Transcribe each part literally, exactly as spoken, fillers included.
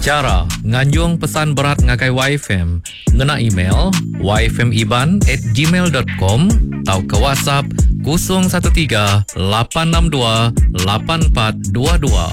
Chara nganjung pesan berat ngagai Y F M ngena email y f m iban at gmail dot com atau ke WhatsApp kosong satu tiga lapan enam dua lapan empat dua dua.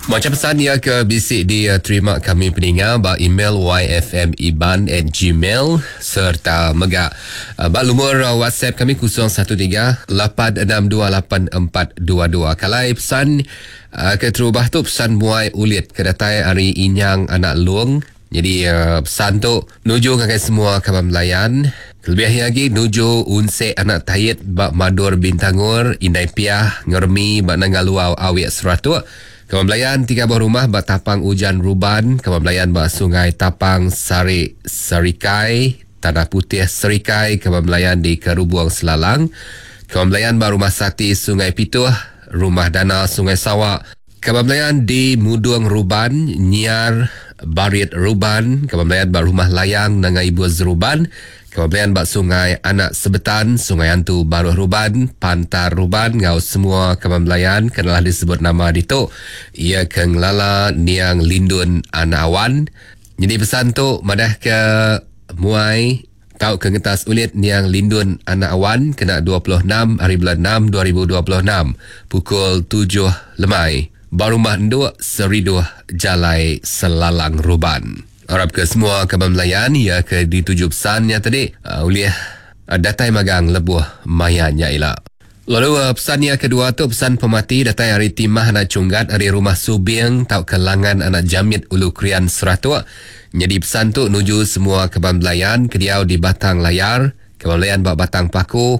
Macam pesan ia ke bisik diterima kami peninga ba email y f m iban at gmail serta mega ba lumur WhatsApp kami kosong satu tiga lapan enam dua lapan empat dua dua. Kalai pesan ke terubah tu pesan muai ulit ke datai hari Inyang Anak Long. Jadi pesan tu nuju ngagai semua kaban belayan. Lebih lagi nuju unse anak tayit ba Madur Bintangur, Indai Piah, Ngermi ba Nangaluau Awik Seratuk. Kaban belayan tiga buah rumah ba Tapang Ujan Ruban, kaban belayan ba Sungai Tapang Sari Serikai, Tanah Putih Serikai, kaban belayan di Kerubung Selalang, kaban belayan ba Rumah Sati Sungai Pituh, Rumah Dana Sungai Sawak, kaban belayan di Mudung Ruban, Nyiar Barit Ruban, kaban belayan ba Rumah Layang Nangai Ibu Zeruban, kaban belayan ba Sungai Anak Sebetan, Sungai Antu Baruh Ruban, Pantar Ruban, ngau semua kaban belayan kenalah disebut nama ditu. Ia ke ngelala Niang Lindun Anak Awan. Jadi pesan tu madah ke muai tau ke ngetas ulit Niang Lindun Anak Awan kena dua puluh enam hari bulan enam dua ribu dua puluh enam pukul tujuh lemai. Barumah Nduk Seriduh Jalai Selalang Ruban. Harap ke semua kaban belayan ya ke dituju pesannya tadi uh, ulih uh, datai magang lebuh mayanya ila. Lalu uh, pesannya kedua tu pesan pemati datai hari Timah Anak Cunggat hari Rumah Subiang tau ke Langan Anak Jamit Ulu Krian Seratuk. Jadi pesan tu nuju semua kaban belayan kediau di Batang Layar, kaban belayan ba Batang Paku,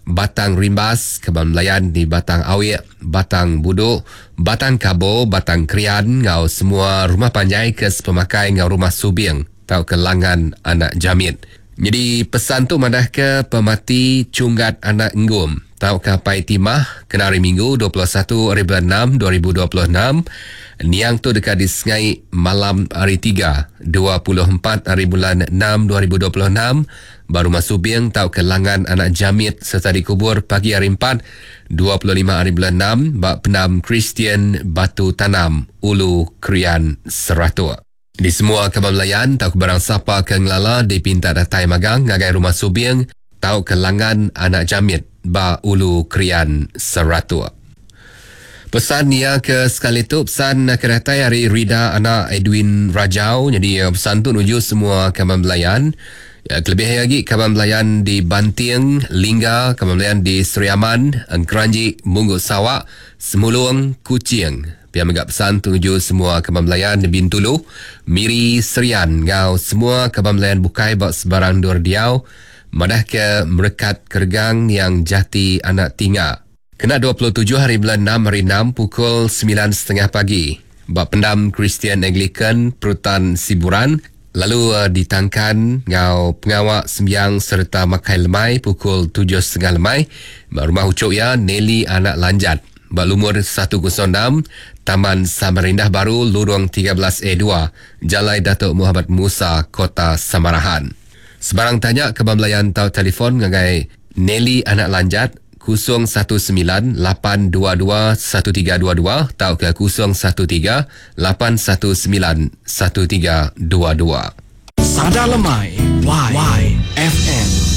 Batang Rimbas, kaban belayan di Batang Awik, Batang Buduk, Batang Kabo, Batang Krian, ngau semua rumah panjai ke sepemakai ngau Rumah Subiang tau ke Langan Anak Jamit. Jadi pesan tu madah ke pemati Cunggat Anak Enggum tau ke Pai Timah kena hari Minggu dua puluh satu hari bulan enam dua ribu dua puluh enam. Niang tu dekat di Sengai malam hari tiga dua puluh empat hari bulan enam dua ribu dua puluh enam baru masuk Subiang tau ke Langan Anak Jamit serta dikubur pagi hari empat dua puluh lima hari bulan enam bak Penam Kristian Batu Tanam Ulu Krian Seratuk. Di semua kaban belayan tau ke barang sapa ke ngelala dipinta datai magang ngagai Rumah Subiang tau ke Langan Anak Jamit ba Ulu Krian Seratuk. Pesan nia ke sekali tu pesan ke datai hari Rida Anak Edwin Rajau. Jadi pesan tu nuju semua kaban belayan. Ya, kelebih lagi kaban belayan di Banting, Lingga, kaban belayan di Seri Aman, Engkeranji, Munggu Sawak, Semulung, Kuching. Pihak megak pesan tuju semua kaban belayan di Bintulu, Miri, Serian, ngau semua kaban belayan bukai bak sebarang dur diau, madah ke merekat kergang yang jati anak tinga. Kena dua puluh tujuh hari bulan enam hari enam pukul sembilan setengah pagi. Bak Pendam Kristian Anglican Perutan Siburan, lalu uh, ditangkan ngau pengawak sembiang serta makai lemai pukul tujuh setengah lemai. Bak Rumah Ucuk ya Nelly Anak Lanjat. Bak lumur satu kosong enam Taman Samarindah Baru Lurung tiga belas A dua Jalai Datuk Muhammad Musa Kota Samarahan. Sebarang tanya ke belayan tau telefon ngagai Nelly Anak Lanjat kosong satu sembilan lapan dua dua satu tiga dua dua atau ke kosong satu tiga lapan satu sembilan satu tiga dua dua. Sada Lemai Y, Y F M.